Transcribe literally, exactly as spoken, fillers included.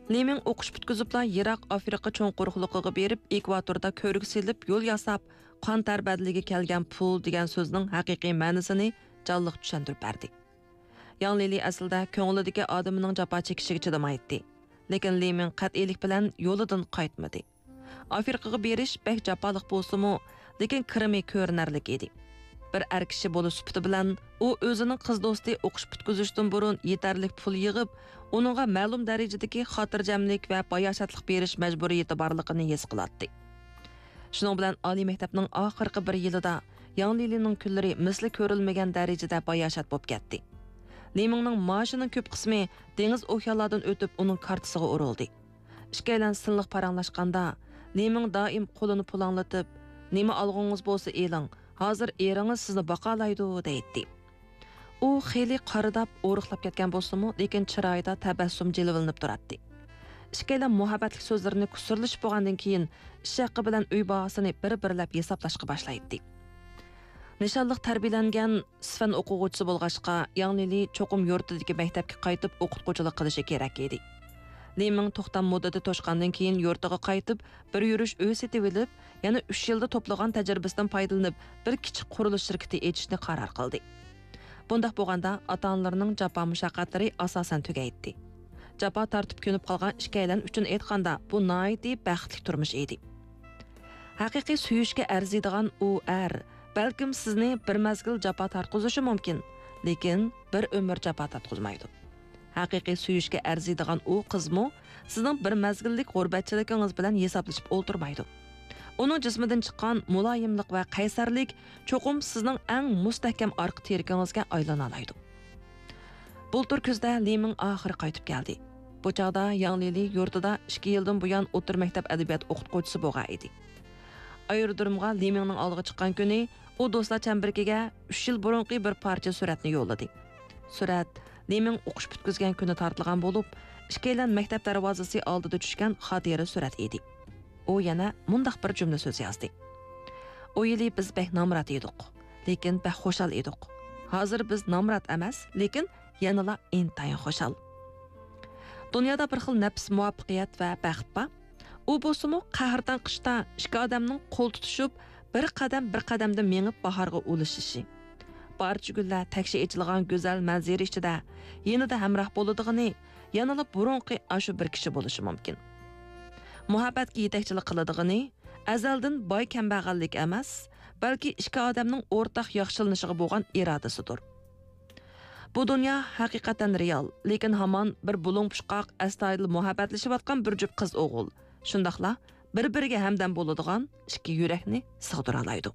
لىمىڭ ئوقۇش پۈتكۈزۈپلا يىراق ئافرىقا چوڭ قۇرۇقلۇقىغا بېرىپ، ئېكۋاتوردا كۆۋرۈك سېلىپ، يول ياساپ، قان تەر بەدىلىگە كەلگەن پۇل دېگەن سۆزنىڭ ھەقىقىي مەنىسىنى جانلىق چۈشەندۈرۈپ بەردى. ياڭ لىلى ئەسلىدە كۆڭلىدىكى ئادىمىنىڭ جاپا چېكىشىگە چىدىمايتتى. لېكىن لىمىڭ قەتئىيلىك بىلەن يولىدىن قايتمىدى. ئافرىقىغا بېرىش بەك جاپالىق بولسىمۇ، لېكىن كىرىمى كۆرۈنەرلىك ئىدى. بىر ئەر كىشى بولۇش سۈپىتى بىلەن، ئۇ ئۆزىنىڭ قىز دوستى ئوقۇش پۈتكۈزۈشتىن بۇرۇن يېتەرلىك پۇل يىغىپ، ئۇنىڭغا مەلۇم دەرىجىدىكى خاتىرجەملىك ۋە باياشاتلىق بېرىش مەجبۇرىيىتى بارلىقىنى ھېس قىلاتتى. شۇنىڭ بىلەن ئالىي مەكتەپنىڭ ئاخىرقى بىر يىلىدا ياڭ لىلىنىڭ كۈنلىرى مىسلى كۆرۈلمىگەن دەرىجىدە باياشات بولۇپ كەتتى. لىمىڭنىڭ مائاشىنىڭ كۆپ قىسمى دېڭىز ئوكيانلاردىن ئۆتۈپ ئۇنىڭ كارتىسىغا ئۇرۇلدى. ئىككىيلەن سىنلىق پاراڭلاشقاندا، لىمىڭ دائىم قولىنى پۇلاڭلىتىپ، «نېمە ئالغۇڭىز بولسا ئېلىڭ، ھازىر ئېرىڭىز سىزنى باقالايدۇ» دەيتتى. ئۇ خېلى قارىداپ، ئورۇقلاپ كەتكەن بولسىمۇ، لېكىن چىرايىدا تەبەسسۇم جىلۋىلىنىپ تۇراتتى. ئىككىيلەن مۇھەببەتلىك سۆزلىرىنى كۇسۇرلىشىپ بولغاندىن كېيىن، ئىش ھەققى بىلەن ئۆي باھاسىنى بىر-بىرلەپ ھېسابلاشقا باشلايتتى. نىشانلىق تەربىيەلەنگەن سىفەن ئوقۇغۇچىسى بولغاچقا، ياڭ لىلى چوقۇم يۇرتىدىكى مەكتەپكە قايتىپ ئوقۇتقۇچىلىق قىلىشى كېرەك ئىدى. لىمىڭ توختام مۇددىتى توشقاندىن كېيىن يۇرتىغا قايتىپ، بىر يۈرۈش ئۆي سېتىۋېلىپ، يەنە ئۈچ يىلدا توپلىغان تەجرىبىسىدىن پايدىلىنىپ، بىر كىچىك قۇرۇلۇش شىركىتى ئېچىشنى قارار قىلدى. بۇنداق بولغاندا، ئاتا-ئانىلىرىنىڭ جاپا مۇشەققەتلىرى ئاساسەن تۈگەيتتى. جاپا تارتىپ كۆنۈپ قالغان ئىككىيلەن ئۈچۈن ئېيتقاندا، بۇ ناھايىتى بەختلىك تۇرمۇش ئىدى. ھەقىقىي سۆيۈشكە ئەرزىيدىغان ئۇ ئەر، بەلكىم سىزنى بىر مەزگىل جاپا تارتقۇزۇشى مۇمكىن، لېكىن بىر ئۆمۈر جاپا تارتقۇزمايدۇ. ھەقىقىي سۆيۈشكە ئەرزىيدىغان ئۇ قىزمۇ سىزنىڭ بىر مەزگىللىك غۇربەتچىلىكىڭىز بىلەن ھېسابلىشىپ ئولتۇرمايدۇ. ئۇنىڭ جىسمىدىن چىققان مۇلايىملىق ۋە قەيسەرلىك چوقۇم سىزنىڭ ئەڭ مۇستەھكەم ئارقا تىرىكىڭىزگە ئايلىنالايدۇ. بۇلتۇر كۈزدە لىمىڭ ئاخىرى قايتىپ كەلدى. بۇ چاغدا ياڭ لىلى يۇرتىدا ئىككى يىلدىن بۇيان ئوتتۇرا مەكتەپ ئەدەبىيات ئوقۇتقۇچىسى بولغان ئىدى. ئايرودرومغا لىمىڭنىڭ ئالدىغا چىققان كۈنى ئۇ دوستلار چەمبىرىكىگە ئۈچ يىل بۇرۇنقى بىر پارچە سۈرەتنى يوللىدى. سۈرەت لىمىڭ ئوقۇش پۈتكۈزگەن كۈنى تارتىلغان بولۇپ، ئىككىيلەن مەكتەپ دەرۋازىسى ئالدىدا چۈشكەن خاتىرە سۈرەت ئىدى. ئۇ يەنە مۇنداق بىر جۈملە سۆز يازدى: «ئۇ يىلى بىز بەك نامرات ئىدۇق، لېكىن بەك خۇشال ئىدۇق. ھازىر بىز نامرات ئەمەس، لېكىن يەنىلا ئىنتايىن خۇشال.» دۇنيادا بىر خىل نەپىس مۇۋەپپەقىيەت ۋە بەخت بار. ئۇ بولسىمۇ قەھرىتان قىشتا ئىككى ئادەمنىڭ قول تۇتۇشۇپ، بىر قەدەم بىر قەدەمدە مېڭىپ باھارغا ئۇلىشىشى. پارچە گۈللەر تەكشى ئېچىلغان گۈزەل مەنزىرە ئىچىدە يېنىدا ھەمراھ بولىدىغىنى يەنىلا بۇرۇنقى ئاشۇ بىر كىشى بولۇشى مۇمكىن. مۇھەببەتكە يېتەكچىلىك قىلىدىغىنى ئەزەلدىن باي-كەمبەغەللىك ئەمەس، بەلكى ئىككى ئادەمنىڭ ئورتاق ياخشىلىنىشىغا بولغان ئىرادىسىدۇر. بۇ دۇنيا ھەقىقەتەن رېئال، لېكىن ھامان بىر بۇلۇڭ-پۇچقاق، ئەستايىدىل مۇھەببەتلىشىۋاتقان بىر جۈپ قىز-ئوغۇل، شۇنداقلا بىر-بىرىگە ھەمدەم بولىدىغان ئىككى يۈرەكنى سىغدۇرالايدۇ.